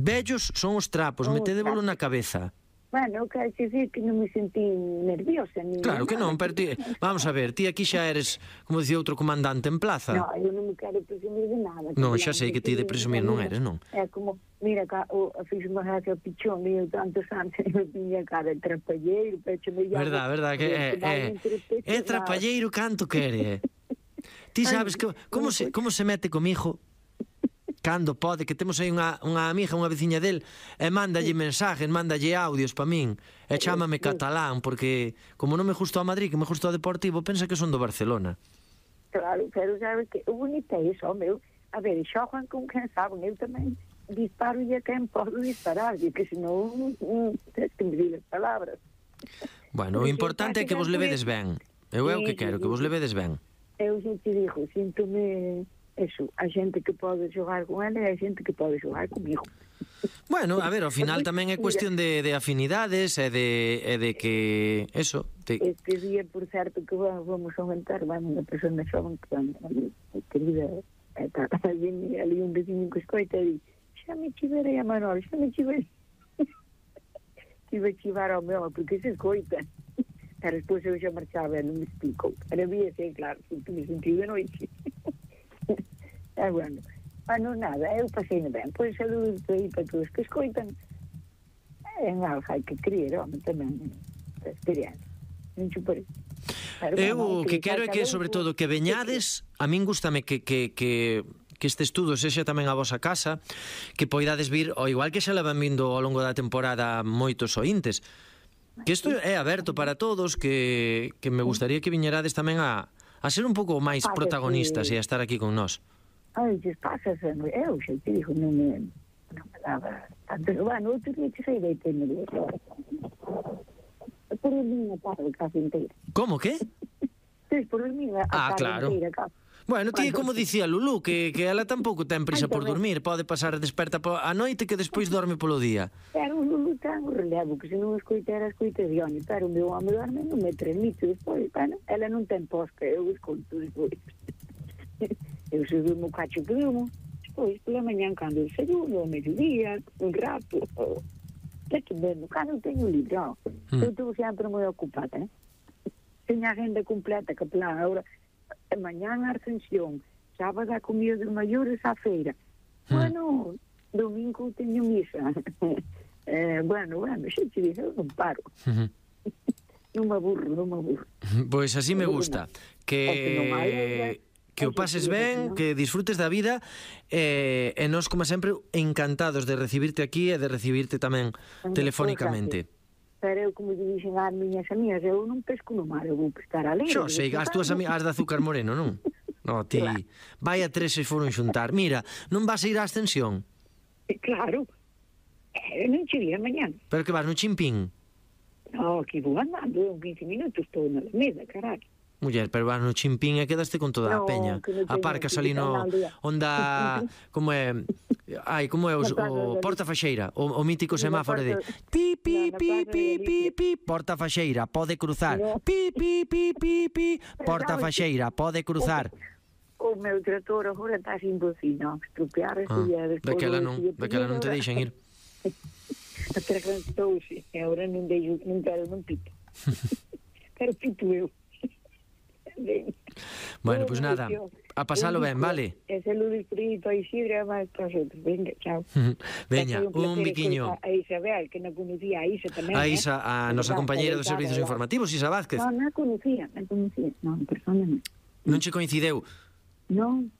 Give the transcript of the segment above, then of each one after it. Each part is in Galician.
Vellos son os trapos, metedevolo na cabeza. Bueno, eu quero dicir que non me sentí nerviosa. Claro que non, pero ti, vamos a ver, ti aquí xa eres, como dicía outro comandante en plaza. Non, eu non me quero presumir de nada. Non, xa sei que ti de presumir non eres, non? É como, mira, fiz unha gracia ao pichón, e eu tantos anos e me viña cara de trapalleiro, pecho me llamo. Verdad, que é trapalleiro canto quere. Ti sabes que como se mete comigo cando pode, que temos aí unha amiga, unha veciña del, e mándalle mensajes, mándalle audios pa min, e chámame catalán, porque como non me gustou a Madrid, que me gustou o Deportivo, pensa que son do Barcelona. Claro, pero sabes que o bonito é iso, meu, a ver, xogan con quen saben, eu tamén disparo e a quen podo disparar, e que senón tens que me dir as palabras. Bueno, o importante é que vos levedes ben, eu é o que quero, que vos levedes ben. Eu xa te digo, síntome... Eso, a xente que pode xogar con ela e a xente que pode xogar comigo. Bueno, a ver, ao final tamén é cuestión de afinidades e de que... Eso. Este día, por certo, que vamos a aumentar, unha persona xoven que querida, ali un vecino que escoita e di, xa me chiverei a Manol, xa me chiverei. Tive a chivar ao meu, porque se escoita. Pero despois eu xa marchaba e non me explico. Era vía, sei, claro, porque me senti de noite. Bueno, nada, eu pasei ben. Pois saludos aí para todos que escoitan. En algo hai que creer, home, tamén experiencia. Non chuparei. Eu o que quero é que, sobre todo, que veñades, a min gústame que este estudo sexa tamén a vosa casa, que poidades vir, ao igual que xa levan vindo ao longo da temporada moitos ointes, que isto é aberto para todos, que me gustaría que viñerades tamén a ser un pouco máis protagonistas e a estar aquí con nós. Ai, pasa, eu xa te digo, non me daba tanto. Bueno, outro día que sei de tener por el mío tarde casi inteira. Como, que? Por el mío a tarde inteira casi. Bueno, ti como dicía Lulú, que ela tampouco ten prisa por dormir, pode pasar desperta a noite que despois dorme polo día. Pero o Lulú ten o relevo, que se non escoitera de home, pero o meu home dorme non me transmite despois, bueno, ela non ten posca, eu escoito despois. Eu subi o cacho que durmo, despois, pela manhã, cando desayuno, ao mediodía, un rato, é que mesmo, cando eu teño livre, eu estou sempre moi ocupada, teño a agenda completa, que plan, ahora, mañá a Ascensión, sábado a comida dos maiores á feira, bueno, domingo teño misa, bueno, xa te digo, eu non paro. Non me aburro. Pois así me gusta, que o pases ben, que disfrutes da vida e nós, como sempre, encantados de recibirte aquí e de recibirte tamén telefónicamente. Pero eu, como dixen ás miñas amigas, eu non pesco no mar, eu vou pescar a leira. Xo sei, as túas amigas de azúcar moreno, non? No, ti, vai a 3 se foron xuntar. Mira, non vas a ir á Ascensión? Claro, non che vi mañán. Pero que vas no Chimpín? No, aquí vou andando, 15 minutos estou na Alameda, caralho. Muller, pero vas no Chimpín e quedaste con toda a peña. Aparcas ali no onda, como é, como é o Porta Faxeira, o mítico semáforo de pi, pi, pi, pi, pi, pi, Porta Faxeira, pode cruzar. Pi, pi, pi, pi, pi, Porta Faxeira, pode cruzar. O meu trator agora está sin bocina, estropear daquela non te deixan ir. Atragantouse, e agora non quero, non pito. Quero pito eu. Bueno, pois nada, a pasalo ben, vale? E saludos por aí para Isidro e máis para os outros. Venga, chao. Veña, un biquiño. A Isabel, que non conocía a Isa tamén. A Isa, a nosa compañeira dos servizos informativos, Isa Vázquez. Non conocía, non, persona non. Non che coincideu? Non,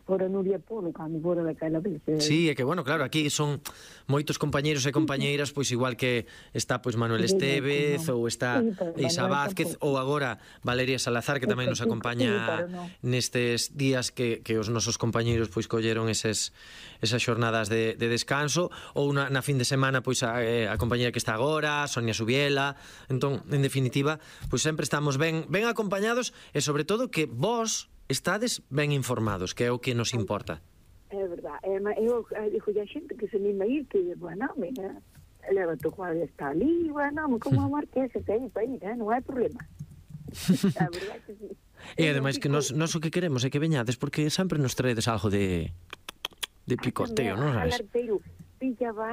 fora Nuria Polo, cando fora daquela vez. Sí, é que, bueno, claro, aquí son moitos compañeiros e compañeiras, pois igual que está pois Manuel Estevez, ou está Isa Vázquez, ou agora Valeria Salazar, que tamén nos acompaña nestes días que os nosos compañeiros pois colleron esas xornadas de descanso, ou na fin de semana pois a compañeira que está agora, Sonia Subiela. Entón, en definitiva, pois sempre estamos ben acompañados e, sobre todo, que vos estades ben informados, que é o que nos importa. É verdad. Eu digo a xente que se anima a ir, que, bueno, mira, leva tu cuadro, está ali, bueno, como a Marquesa, que aí para ir, non hai problema. A verdad que sí. E ademais que nos o que queremos é que veñades, porque sempre nos traedes algo de picoteo, non sabes? pillaba